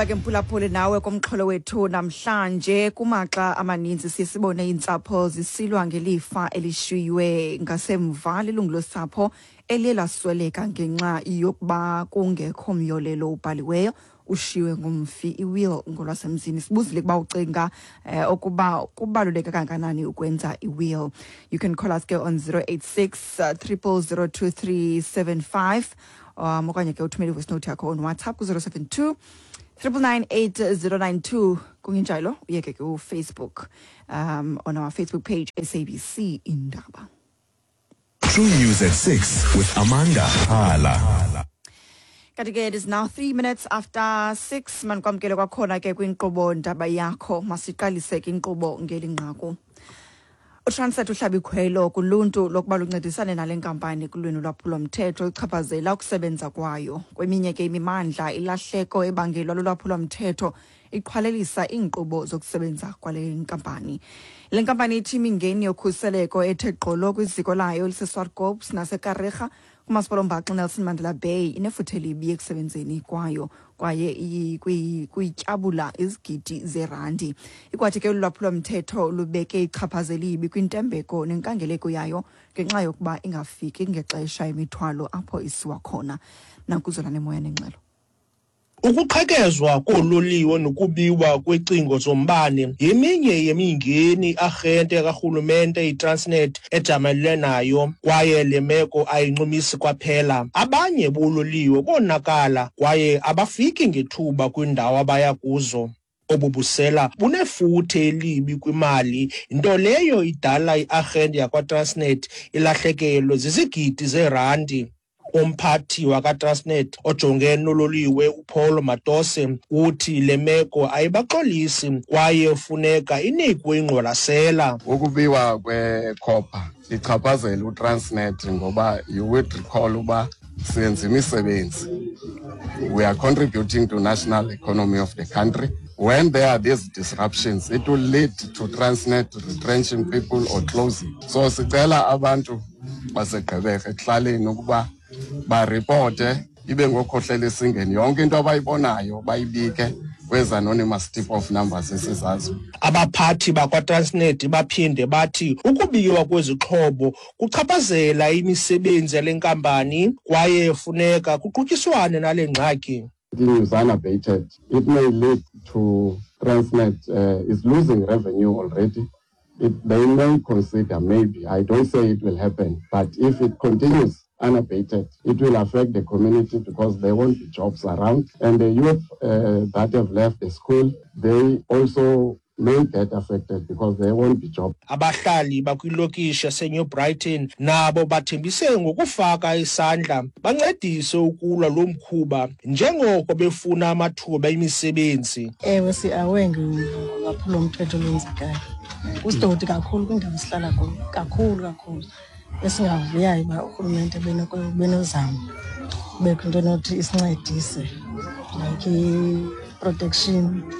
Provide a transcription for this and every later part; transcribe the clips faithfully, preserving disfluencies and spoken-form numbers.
Ke mphulaphuli, nawe kumxholo wethu namhlanje. Kumaxa amaninzi siye sibone iintsapho zisilwa ngelifa elishiywe ngasemva lilungu losapho eliye lasweleka ngenxa yokuba kungekho myolelo ubhaliweyo ushiywe ngumfi, i-will ngolwasemzini. Sibuzile ukuba ucinga eh, ukuba kubaluleke kangakanani ukwenza i-will. You can call us ke on zero eight six triple zero two three seven five um okanye ke uthumele i-voice note yakho on WhatsApp ku-zero seven two triple nine eight zero nine two. Kungenjalo uye ke ku-Facebook, um on our Facebook page, S A B C Indaba. True News at six with Amanda Hala. Kanti ke it is now three minutes after six. Manikwamkele kwakhona ke kwinkqubo Ndaba Yakho. Masiqalise ke inkqubo ngeli nqaku. UTransnet uhlaba ikhwelo kuluntu lokuba luncedisane nale nkampani kulwimi lolwaphulomthetho oluchaphazela ukusebenza kwayo. Kweminye ke imimandla, ilahleko ebangelwa lulwaphulomthetho iqhwalelisa iinkqubo zokusebenza kwale nkampani. Le nkampani ithi imingeni yokhuseleko ethe gqolo kwiziko layo eliseSwartkops naseKariega kumasipala ombaxa Nelson Mandela Bay inefuthe elibi ekusebenzeni kwayo kwaye kuyityabula izigidi zerandi. Ikwathi ke olu lwaphulomthetho lubeke ichaphaza elibi kwintembeko nenkangeleko yayo ngenxa yokuba ingafiki ngexesha imithwalo apho isiwa khona. Nakuzolane moya nengxelo. Ukuqhekezwa koololiwe nokubiwa kwecingo zombane yeminye yemingeni i-arhente karhulumente iTransnet ejamelene nayo, kwaye le meko ayincumisi kwaphela. Abanye boololiwe bonakala kwaye abafiki ngethuba kwiindawo abaya kuzo. Obu busela bunefuthe elibi kwimali, nto leyo idala i-arhente yakwaTransnet ilahlekelwe zizigidi zeerandi. Umphathi wakwaTransnet ojongene nololiwe, uPaul Matose, uthi le meko ayibaxolisi kwaye funeka inikwe ingqwalasela. Ukubiwa kwekhopha ichaphazela uTransnet ngoba you would recall uba senza imisebenzi. We are contributing to national economy of the country. When there are these disruptions, it will lead to Transnet retrenching people or closing. So sicela abantu baseGqeberha ekuhlaleni ukuba baripote, ibe ngokhohlela esingeni, yonke into abayibonayo bayibike kwezi anonymous tip off numbers esizaziyo. Abaphathi bakwaTransnet baphinde bathi ukubiwa kwezixhobo kuchaphazela imisebenzi yale nkampani kwaye funeka kuqutyiswane nale ngxaki. Continues unabated, it may lead to Transnet uh, is losing revenue already. It, they may consider, maybe, I don't say it will happen, but if it continues unabated, it will affect the community because there won't be jobs around. And the youth uh, that have left the school, they also may get affected because there won't be jobs. Abahlali bakwilokishi yaseNew Brighton nabo bathembise ngokufaka isandla bancedise ukulwa lo mkhuba njengoko befuna amathuba emisebenzi. Ewe, si-aware ngolwaphulomthetho olwenzekayo. Kusidoti kakhulu kwindawo esihlala kuyo, kakhulu kakhulu. Esingavuyayo uba urhulumente benozama kubekho into enothi isincedise, like i-protection,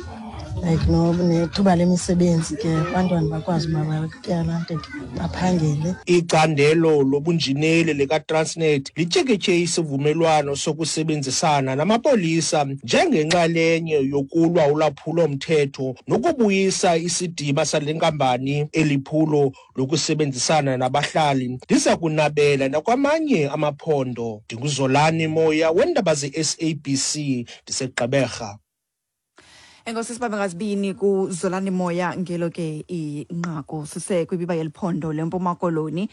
like nethuba lemisebenzi ke, abantwana bakwazi uba batyalante baphangele. Icandelo lobunjineli likaTransnet lityikitye isivumelwano sokusebenzisana namapolisa njengenxalenye yokulwa ulwaphulo-mthetho nokubuyisa isidima sale nkampani. Eli phulo lokusebenzisana nabahlali liza kunabela nakwamanye amaphondo. NdinguZolani Moya weendaba ze-S A B C, ndiseGqeberha. Enkosi, sibambe ngazibini kuZolani Moya ngelo ke inqaku. Sise kwibiba yeliphondo leMpuma Koloni.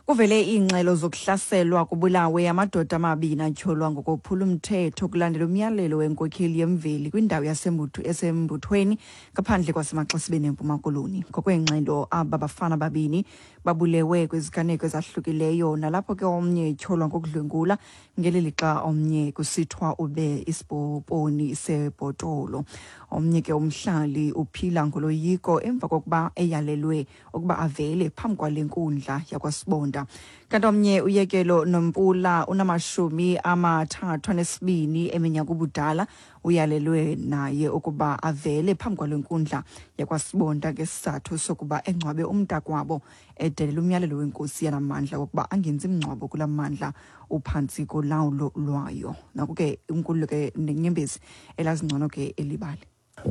Kuvele iingxelo zokuhlaselwa kubulawe amadoda amabini atyholwa ngokophula umthetho kulandela umyalelo wenkokheli yemveli kwindawo yaseMbuthu eseMbuthweni ngaphandle kwaseMaxesibeni eMpuma Koloni. Ngokweengxelo, aba bafana babini babulewe kwiziganeko ezahlukileyo, nalapho ke omnye etyholwa ngokudlwengula ngeli lixa omnye kusithiwa ube isipoponi sebhotolo. Omnye ke umhlali uphila ngoloyiko emva kokuba eyalelwe ukuba avele phambi kwale nkundla yakwaSibonda. yakwaSibonda. Kanti omnye uYekelo Nompula unamashumi amathathu anesibini eminyaka ubudala uyalelwe naye ukuba avele phambi kwale nkundla yakwaSibonda ngesizathu sokuba engcwabe umntakwabo edelela umyalelo wenkosi yanamandla wokuba angenzi mngcwabo kula mandla uphantsi kolawulo lwayo. Naku ke uNkululeko Nenyembezi elazingcono ke elibali.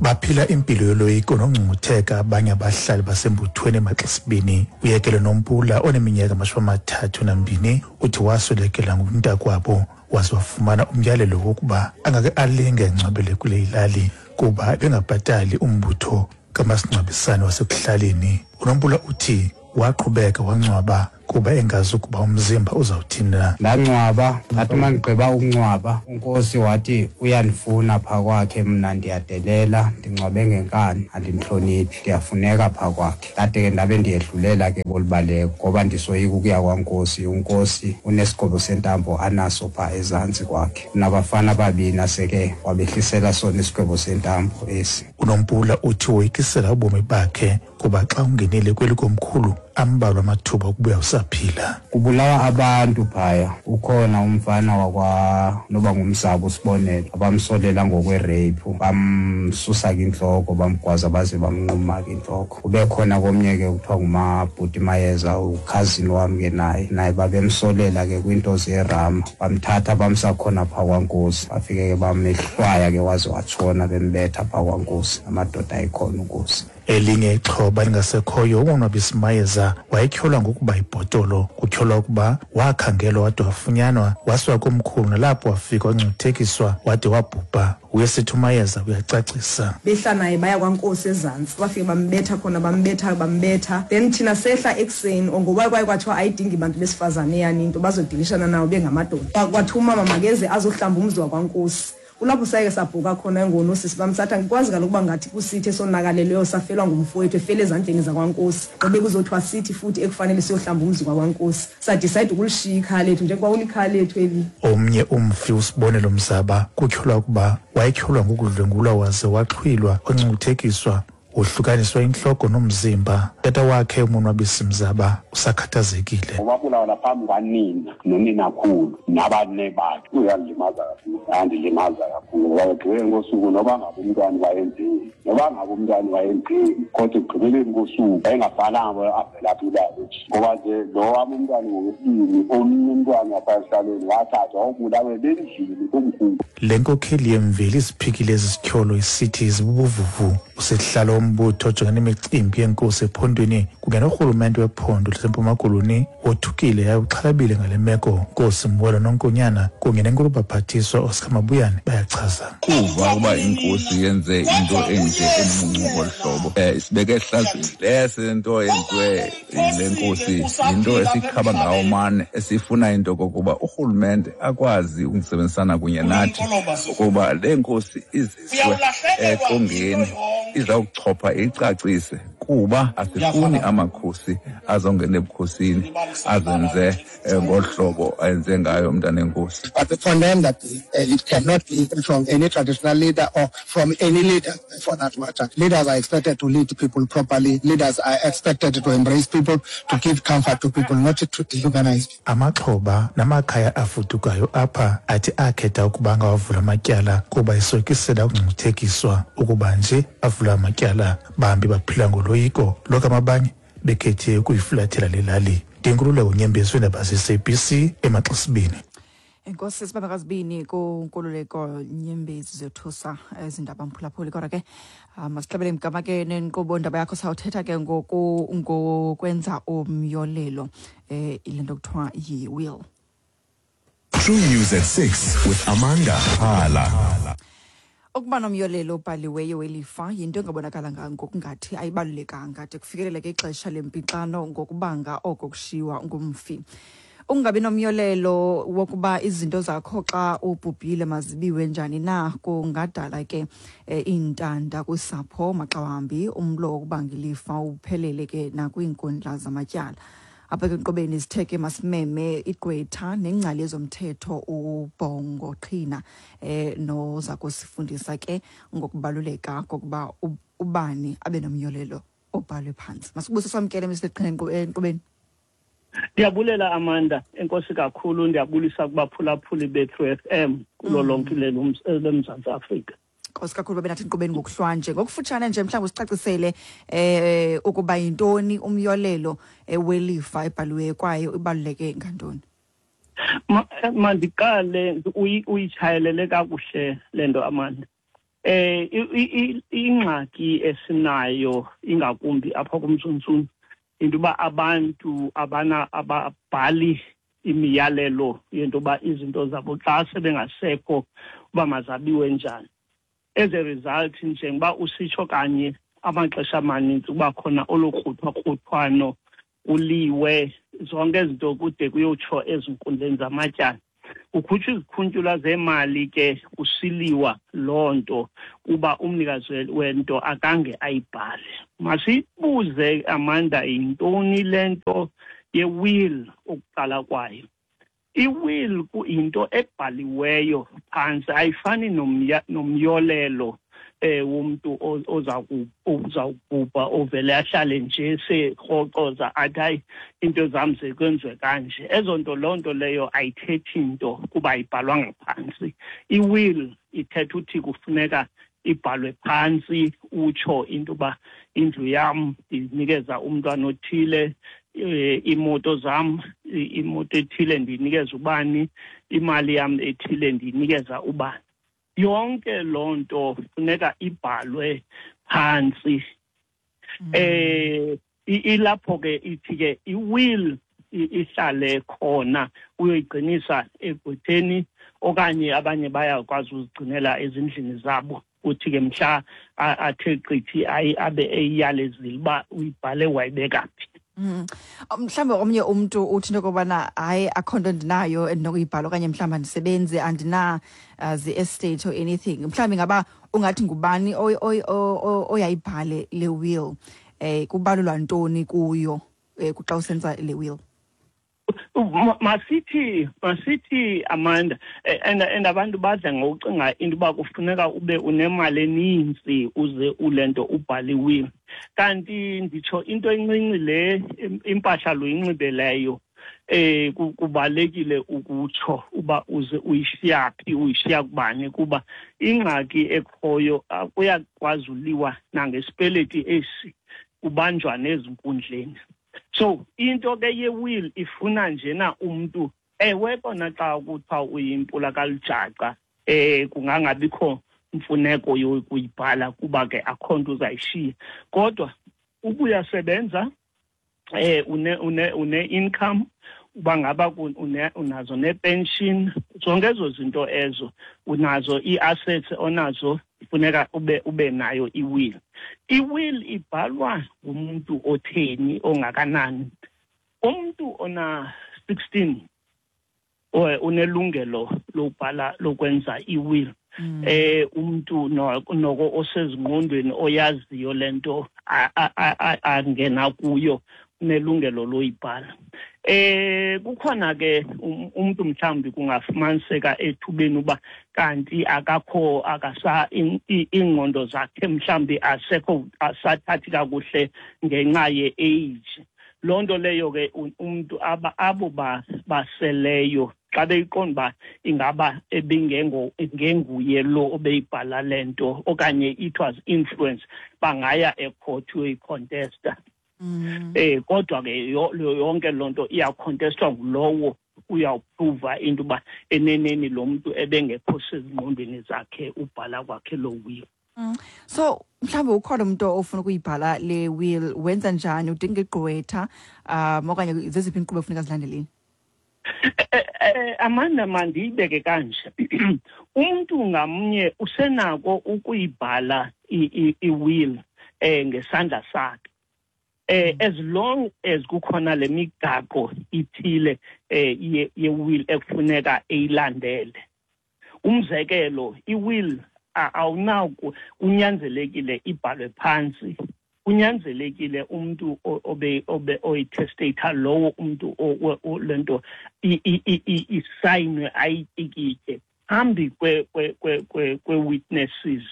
Baphila impilo yoloyiko nongcungcutheka abanye abahlali basembuthweni eMaxesibini. Uyekele Nompula oneminyaka amashumi amathathu nambini uthi waswelekela ngumntakwabo waze wafumana umyalelo wokuba angake alinge engcwabele kule ilali kuba bengabhatali umbutho kamasingcwabisane wasekuhlaleni. UNompula uthi waqhubeka wangcwaba kuba engazi ukuba umzimba uzawuthini na. Ndangcwaba, ndathi uma ndigqiba ukungcwaba unkosi wathi uyandifuna phaa kwakhe, mna ndiyadelela, ndingcwabe ngenkani, andimhloniphi, ndiyafuneka phaa kwakhe. Ndade ke ndabe ndiyedlulela ke kolubaleko ngoba ndisoyika ukuya kwankosi. Unkosi unesigwebo sentambo anaso phaa ezantsi kwakhe, unabafana ababini aseke wabehlisela sona isigwebo sentambo esi. UNompula uthi woyikisela ubomi bakhe kuba xa ungenile kweli komkhulu ambalwa amathuba okubuya usaphila. Kubulawa abantu phaya, ukhona umfana wakwa noba ngumzabo uSibonelo abamsolela ngokwerape, bamsusa ke intloko, bamgwaza baze bamnquma ke intloko. Kube khona komnye ke kuthiwa nguMabhuti Mayeza, ukhazini wam ke naye, naye babemsolela ke kwinto zerama, bamthatha bamsa khona phaa kwankosi, bafike ke bamehlwaya ke waze watshona, bembetha phaa kwankosi, amadoda ayikhona unkosi. Elinye ixhoba lingasekhoyo uMonwabisi Mayeza wayetyholwa ngokuba ibhotolo. Kutyholwa ukuba wakhangelwa wade wafunyanwa wasiwa komkhulu nalapho wafika wangcuthekiswa wade wabhubha. Uyesithi uMayeza uyacacisa. Behla naye baya kwankosi ezantsi, bafike bambetha khona, bambetha bambetha. Then thina sehla ekuseni ngoba kwaye kwathiwa ayidingi bantu besifazane yani into bazodilishana nawo bengamadoda. Kwathiwa umama makeze azohlamba umzi wakwankosi. Kulapho sayeke sabhuka khona ngonosisi bam, sathi angikwazi kaloku uba ngathi kusithi esonakaleleyo safelwa ngumfowethu efele ezandleni zakwankosi, ngobe kuzothiwa sithi futhi ekufanele siyohlamba umzi kwakwankosi. Sadicide ukulishiya ikhaya lethu njengoba ulikhaya lethu eli. Omnye umfi uSibonelo Mzaba kutyholwa ukuba wayetyholwa ngokudlwengulwa waze waxhwilwa, wangcuthekiswa, wohlukaniswa intloko nomzimba. Tata wakhe uMonwabisi Mzaba usakhathazekile. Wabulawa phambi kwanina noninakhulu nabane bakhe. Uyandilimaza kakhulu, andilimaza kakhulu ngoba ekugqibeleni kosuku noba ngabe umntwana wayenzeni, noba ngabe umntwana wayenzeni, kodwa ekugqibeleni kosuku wayengabhalanga avela phi ubaba, ngoba nje lo wam umntwana ngokwesibini, omnye umntwana wapha esihlalweni wathathwa wawubulawe bendlini komkhulu. Le nkokheli yemveli isiphikile ezi zityholo isithi zibubuvuvu. Usihlalo wombutho ojongene nemicimbi yenkosi ephondweni kunye norhulumente wephondo laseMpuma Koloni wothukile yaye uxhalabile ngale meko. Nkosi Mwelo Nonkonyana kunye nenkulubaphathiswa Oscar Mabuyane bayachaza. Kuva ukuba inkosi yenze into enje emuncu ngolu hlobo, um isibeke ehlazweni. Lesi nto yenziwe yile nkosi yinto esikhaba ngawo mane, esifuna into kokuba urhulumente akwazi ukusebenzisana kunye nathi ukuba le nkosi iziswe eqongeni izawuchopha icacise, kuba asifuni amakhosi azongena ebukhosini azenze ngolu hlobo ayenze ngayo umntana enkosi. But we condemn that it cannot be from any traditional leader or from any leader for that matter. Leaders are expected to lead people properly. Leaders are expected to embrace people, to give comfort to people, not to dehumanize. Amaxhoba namakhaya afudukayo apha athi akhetha ukuba angawavula amatyala kuba isoyikisela ukungcuthekiswa ukuba nje avula amatyala. Bambi baphila ngoloyiko lokama abanye bekhethe ukuyifulathela le lali. Ndinkululeko Nyembezi weendaba ze-S A B C eMaxesibini. Enkosi sibabakazibini kuNkululeko Nyembezi zethusa ezindaba mphulaphuli. Kodwa ke masihlabele mgama ke nenkqubo ndaba yakho, sawuthetha ke ngoku ngokwenza umyolelo eh ile nto kuthiwa yi-will. True News at six with Amanda Hala. Ukuba nomyolelo obhaliweyo welifa yinto engabonakala ngokungathi ayibalulekanga de kufikeleleke ixesha lempixano ngokubanga oko kushiywa ngumfi. Ukungabi nomyolelo wokuba izinto zakho xa ubhubhile mazibiwe njani na kungadala ke iintanda kusapho maxa wambi, umlo wokubanga ilifa uphelele ke nakwiinkundla zamatyala. Apha ke enkqubeni sithe ke masimeme igqwetha nengcali yezomthetho uBhongo Qhina eh noza kusifundisa ke ngokubaluleka kokuba ubani abe nomyolelo obhalwe phantsi. Masibuse samkele Mister Qhina enkqubeni. Ndiyabulela Amanda, enkosi kakhulu, ndiyabulisa kubaphulaphuli be-True F M kulo lonke loMzantsi Afrika. Nkosi kakhulu babe nathi inkqubeni ngokuhlwanje. Ngokufutshane nje mhlawumbi usicacisele eh ukuba yintoni umyolelo welifa ebhaliweyo kwaye ibaluleke ngantoni? Mandiqale uyitshayelele kakuhle le nto Amanda. Eh ingxaki esinayo ingakumbi apha kuMzunzunzu into uba abantu abana ababhali imiyalelo yento uba izinto zabo xa sebengasekho uba mazabiwe njani. As a result, njengoba usitsho kanye amaxesha amaninzi kuba khona olukruthwa-kruthwano kuliwe zonke izinto kude kuyotsho ezinkundleni zamatyala. Kukhutshwa izikhuntyula zemali ke kusiliwa loo nto kuba umnikazi wento akange ayibhale. Masibuze Amanda, yintoni le nto ye-will ukuqala kwayo? I-will kuyinto ebhaliweyo phantsi, ayifani nomyolelo eh womuntu oza uzawubhubha ovele ahlale nje sekroxoza athi hayi into zam zekwenziwe kanje. Ezo nto loo nto leyo ayithethi nto kuba ayibhalwanga phantsi. I-will ithetha uthi kufuneka ibhalwe phantsi, utsho into uba indlu yam ndiyinikeza umntwana othile, imoto zam, imoto ethile ndiyinikeza ubani, imali yam ethile ndiyinikeza ubani. Yonke loo nto funeka ibhalwe phantsi. Eh ilapho ke ithi ke i-will ihlale khona, uyoyigcinisa egqwetheni okanye abanye bayakwazi uzigcinela ezindlini zabo, uthi ke mhla athe qithi abe eyiyalezile uba uyibhale wayibeka phi. Mm. Mhlawumbe omnye umntu uthi into yokubana hayi akho nto ndinayo endinokuyibhala okanye mhlawumbi andisebenzi, andina uh, zi-estate or anything. Mhlawumbi ngaba ungathi ngubani oyayibhale le will, eh kubalulwa ntoni kuyo eh xa usenza le will? Masithi masithi Amanda, and and abantu badla ngokucinga into uba kufuneka ube unemali eninzi uze ulento ubhale i-will. Kanti nditsho into encinci le impahla loyinxibeleyo eh kubalekile ukutsho uba uze uyishiya phi, uyishiya kubani, kuba ingxaki ekhoyo kuyakwazi uliwa nangesipeleti esi kubanjwa nezinkundleni. So into ke ye-will ifuna njena umntu, ewe kona xa kuthiwa uyimpula kalujaca eh kungangabikho mfuneko yokuyibhala kuba ke akho nto uzayishiya, kodwa ubuyasebenza eh une une une income, uba ngaba unazo ne-pension, zonke ezo zinto ezo unazo, ii-assets onazo, funeka ube ube nayo i-will. I-will ibhalwa ngumuntu otheni ongakanani. Umuntu ona sixteen unelungelo lokubhala lokwenza i-will. Mm. Eh umuntu noko osezingqondweni oyaziyo lento angena kuyo unelungelo loyibhala. Eh kukhona ke umuntu mhlawumbi kungafumaniseka ethubeni uba kanti akakho akasa ingqondo zakhe mhlawumbi asekho asathathi kakuhle ngenxa ye-age. Loo nto leyo ke umuntu abo baseleyo xa beyiqonda uba ingaba ebingengo ngenguye lo obeyibhala le nto okanye it was influence, bangaya ecourt uyoyicontesta. Mm. Eh kodwa ke yonke loo nto iyacontestwa ngulowo uyawuprova into uba eneneni lo muntu ebengekho sezingqondweni zakhe ubhala kwakhe lo will. Mm. So mhlawumbi ukhona umuntu ofuna ukuyibhala le will, wenza njani? Udinga igqwetha um okanye zeziphi iinkqubo efuneka zilandeleni? Amanda, mandiyibeke kanje. Umntu ngamnye usenako ukuyibhala i-will eh ngesandla sakhe. Eh as long as kukhona le migaqo ithile eh ye-will ekufuneka eyilandele. Umzekelo, i-will awunako kunyanzelekile ibhalwe phansi, kunyanzelekile umuntu obe obe oyitestator lowo umuntu lento isayinwe ayitikitye phambi kwe kwe kwe witnesses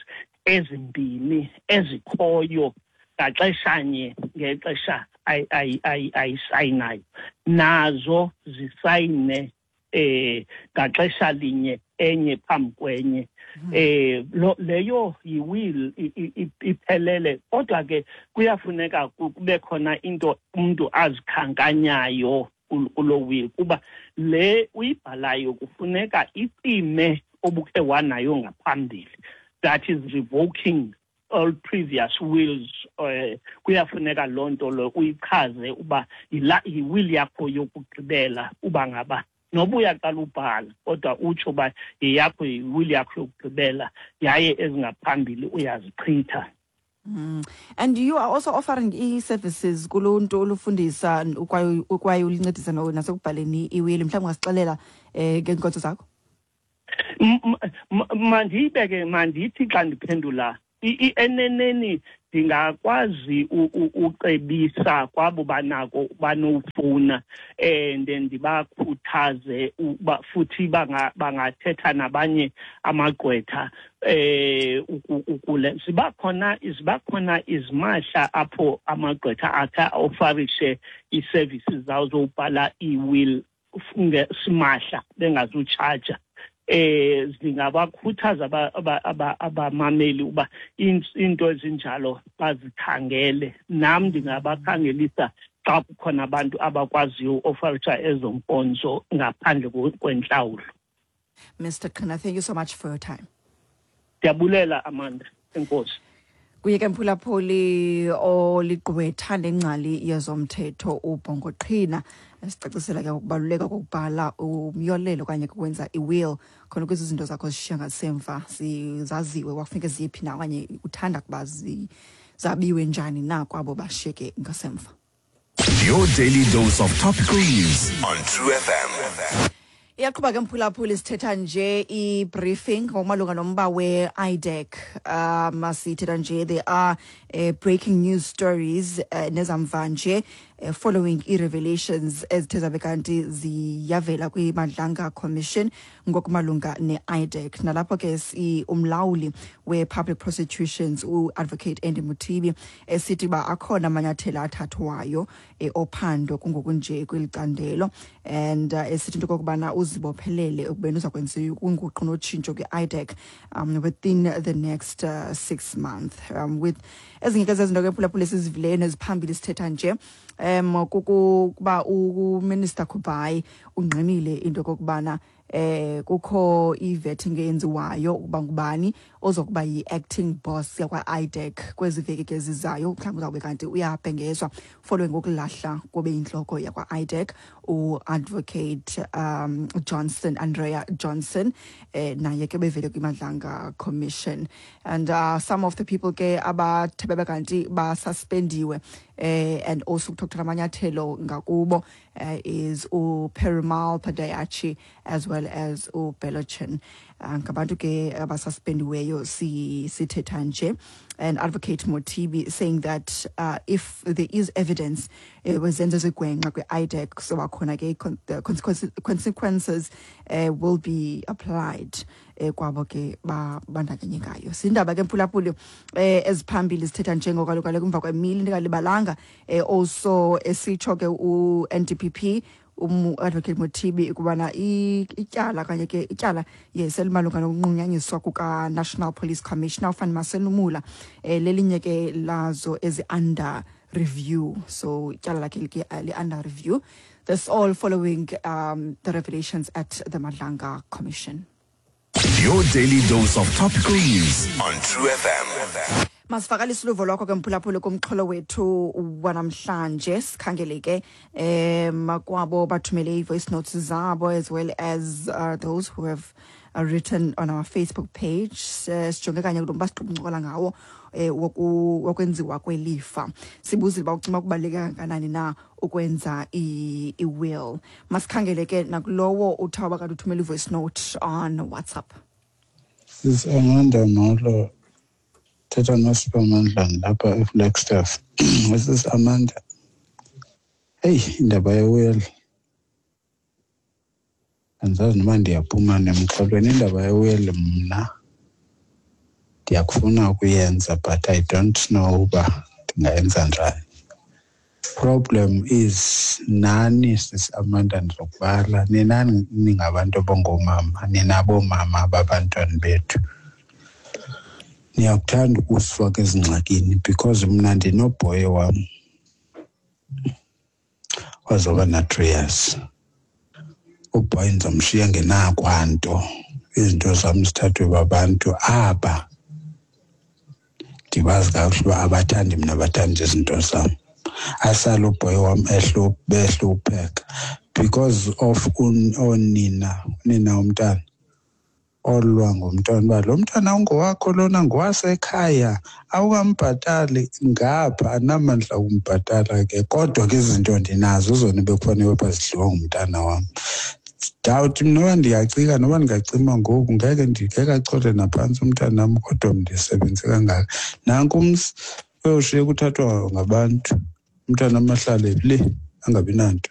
ezimbini ezikhoyo ngaxeshanye ngexesha ayisayinayo nazo zisayine eh ngaxesha linye enye phambi kwenye. Eh leyo yi-will iphelele, kodwa ke kuyafuneka kube khona into umuntu azikhankanyayo kulo will, kuba le uyibhalayo kufuneka icime obukhe wanayo ngaphambili, that is revoking all previous wills. uh, kuyafuneka loo nto lo uyichaze uba yi-will yakho yokugqibela, uba ngaba noba uyaqala ubhala kodwa utsho uba yeyakho yi-will yakho yokugqibela yaye ezingaphambili uyazichitha. Mm. And you are also offering e-services kuluntu olufundisa ukwaye ulincedisa nasekubhaleni i-will. Mhlawumbi ungasixelela eh ngeenkonzo zakho? Mandiyibeke, mandithi xa ndiphendula eneneni ndingakwazi ucebisa kwabo banako banofuna, and ndibakhuthaze uba futhi bangathetha nabanye amagqwetha eh ukule siba khona siba khona izimahla apho amagqwetha atha ofarishe i-services zawo zobhala i-will simahla bengazutshaja. Eh zingabakhuthaza abamameli uba into ezinjalo bazikhangele. Nam ndingabakhangelisa xa kukhona abantu abakwaziyo uofarisha ezo nkonzo ngaphandle kwentlawulo. Mister Qhina, thank you so much for your time. Ndiyabulela Amanda, enkosi. Kuye ke mphulaphuli oligqwetha nengcali yezomthetho uBhongo Qhina, esicacisela ke ukubaluleka kokubhala umyolelo okanye kokwenza i-will, khona ukuze izinto zakho zishiya ngasemva zaziwe kwakufuneka ziyephi na okanye uthanda kuba zabiwe njani na kwabo bashiyeke ngasemva. Your daily dose of topical news on True F M. Iyaqhuba ke mphulaphuli, sithetha nje i-briefing ngokumalunga nomba we-I D E C. Um sithetha nje there are uh, breaking news stories uh, nezamva nje uh, following i-revelations ezithe zabe kanti ziyavela kwi-Madlanga Commission ngokumalunga ne-I D E C. Nalapho ke si umlawuli we-Public Prosecutions u-Advocate Andy Mothibi esithi uba akhona amanyathelo athathwayo eh, ophando kungokunje kweli candelo, and uh, esithi into okokubana uzibophelele ekubeni uzakwenza inguqu notshintsho kwi-I D E C um, within the next uh, six months. Um, with ezinye ke zezinto ke phulaphula esizivileyo neziphambili sithetha nje um kukuba uMinister Kubayi ungqinile into okokubana eh kukho i-vetting eyenziwayo ukuba ngubani ozokuba yi-acting boss yakwa-I D E C kwezi veki ke zizayo. Mhlawumbi uzawube kanti uyabhengezwa following ukulahla kobe yintloko yakwa-I D E C u-Advocate um Johnson, Andrea Johnson, eh naye ke bevele kwiMadlanga Commission. And uh, some of the people ke abathe bebe kanti basuspendiwe eh and also kuthathwa amanyathelo ngakubo eh, is uPerumal Padayachi as well as uBelochin. Ngabantu ke abasuspendiweyo sithetha nje. And Advocate Mothibi saying that uh, if there is evidence wezenzo zigwenxa kwi-I D E C soba khona ke the consequences, consequences uh, will be applied kwabo ke babandakanyekayo. Sindaba ke mphulaphuli eziphambili sithetha njengokaloku emva kwemini ndingalibalanga also esitsho ke u-N D P P um Advocate Mothibi ukubana ityala kanye ke ityala yes elimalunga nokunqunyanyiswa kuka National Police Commissioner uFani Masemola lelinye ke lazo ezi under review. So ityala lakhe like under review. This all following um, the revelations at the Madlanga Commission. Your daily dose of topical news on True F M. Masivakalise uluvo lwakho ke mphulaphuli kumxholo wethu wanamhlanje. Sikhangele ke um kwabo bathumele i-voice notes zabo as well as uh, those who have uh, written on our Facebook page. Sijonge kanye kulo mba siqubuncokola ngawo eh wokwenziwa kwelifa. Sibuzile uba ucima kubaluleke kangakanani na ukwenza i-will. Masikhangele ke nakulowo uthaba kanti uthumele i-voice note on WhatsApp. Sis Amanda, molo. Thetha noSiphamandla lapha eFlagstaff. Sis Amanda, hey, indaba ye-will andizazi noba ndiyaphuma nemxholweni. Indaba ye-will mna ndiyakufuna ukuyenza, but I don't know uba ndingayenza njani. Problem is nani, Sisi Amanda, ndizokubala nina ningabantu abangoomama, ninaboomama babantwana bethu, niyakuthanda ukusifaka ezingxakini, because mna ndinobhoyi wam wazoba na-three years. Ubhoyi ndizomshiya ngenakwanto, izinto zam zithathwe babantu aba ndibazi kakuhle uba abathandi mna, bathanda izinto zam. Asale ubhoyi wam behlupheka because of oonina, unina womntana olwa ngomntwana uba lo mntana ungowakho, lona ngowasekhaya, awukambhatali ngapha, anamandla okumbhatala ke, kodwa ke izinto ndinazo zona bekufanele uba zidliwa ngumntana wam. Ndawuthi noba ndiyacika, noba ndingacima ngoku, ngeke ngeke achole naphantsi umntanam, kodwa ndisebenze kangaka. Nanku umzi uyoshiya kuthathwa ngabantu, umntanam ahlale le angabi nanto.